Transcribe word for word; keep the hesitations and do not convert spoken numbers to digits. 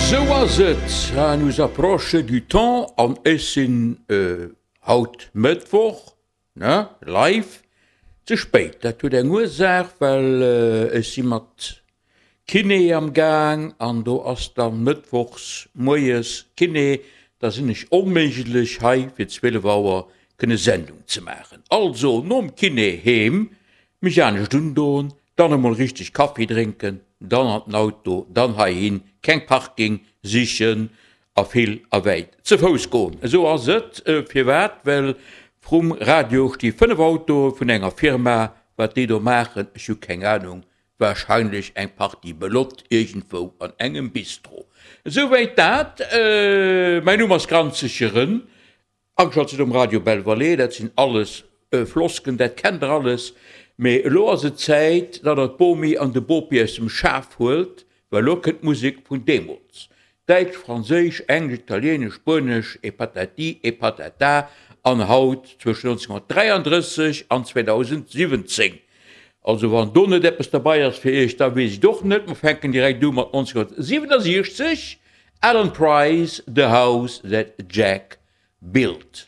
Esou ass et, ça nous approche du temps an ech sinn haut Mëttwoch, ne, live, ze spéit. Dat huet eng Ursaach, well ech si mat Kiné am Gaang an do ass dann mëttwochs moies Kiné, da sinn ech onméiglech hei fir zwielef Auer kënne Sendung ze maachen. Also nom Kiné heem, mech anescht undoen, dann emol richteg Kaffi drénken, dann an den Auto, dann heihin, keng Parking sichen a vill a wäit ze Fouss goen. Esou ass et. Firwat? Well vrum Radio sti fënnef Autoe vun enger Firma. Wat déi do maachen, ech hu keng Anung, Wahrscheinlech eng Partie Belotte iergendwou an engem Bistro. Esouwäit dat. Mäin Numm ass Granzegeren. Ageschalt sidd um Radio Belle Vallée. Dat sinn alles Flosken, dat kennt der alles. Mee elo ass et Zäit, datt der d'Bomi an de Bopi aus dem Schaf huelt, well elo kënnt d'Musek vun deemools. Däitsch, Franséisch, Englesch, Italienesch, Spuenesch et patati et patata. An haut zwëschen nonzénhunnertdräiandrësseg an zweedausendsiwwenzéng. Also wann do net eppes derbei ass fir iech, da weess ech et och net. Mer fänken direkt u mat nonzénhunnertsiwwenasiechzeg, Alan Price, The House That Jack Built.